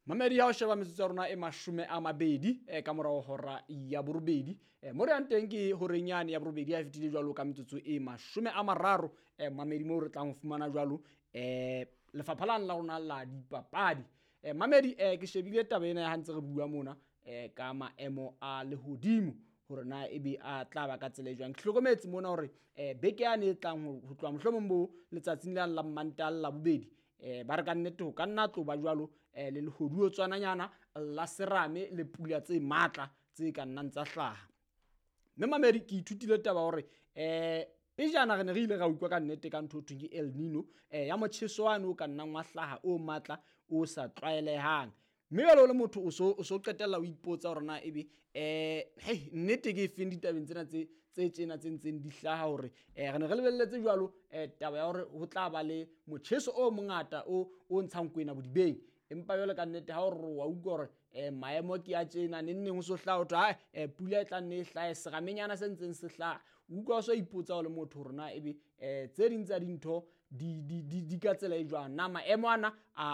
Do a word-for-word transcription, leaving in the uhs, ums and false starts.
Mamedi, ya ho sheba metsotso ya rona e mashome a mabedi eh, ka morao hora ya borobedi. eh, mo re yang teng ke horeng yane ya borobedi ha e fetile jwalo ka metsotso e mashome a mararo. eh, mamedi, moo re tlang ho fumana jwalo eh, lefapha lane la rona la dipapadi. eh, mamedi eh, ke shebile taba ena ya ha ntse re bua mona eh, ka maemo a lehodimo hore na ebe a tla ba ka tsela e jwang. Ke hlokometse mona hore eh, beke yane e tlang ho ho tloha mohlomong bo letsatsing lane la Mmantaha le Labobedi, eh ba re ka nnete ho ka nna tlo ba jwalo eh, le lehoduo tswananyana la serame le pula tse matla tse ka nnang tsa hlaha. Mme mamedi, ke ithutile taba hore eh pejana re ne re ile ra utlwa ka nnete ka ntho ho thweng ke El Nino, eh ya motjheso wane o ka nnang wa hlaha o matla o sa tlwaelehang. Mme jwale o le motho o so o so qetella o ipotsa hore na ebe eh hei nnete ke efeng ditabeng tsena tse tse tjena tse ntseng di hlaha hore eh re ne re lebelletse jwalo eh taba ya hore ho tla ba le motjheso o mongata o o ntshang kwena bodibeng. Empa jwale ka nnete ha o re wa utlwa hore eh maemo ke a tjena, neng neng ho so hlaha ho thwe hai eh pula e tla nne e hlahe, seramenyana se ntseng se hlaha. O utlwa o so ipotsa o le motho hore na ebe eh tse ding tsa dintho di di di di ka tsela e jwang, na maemo ana a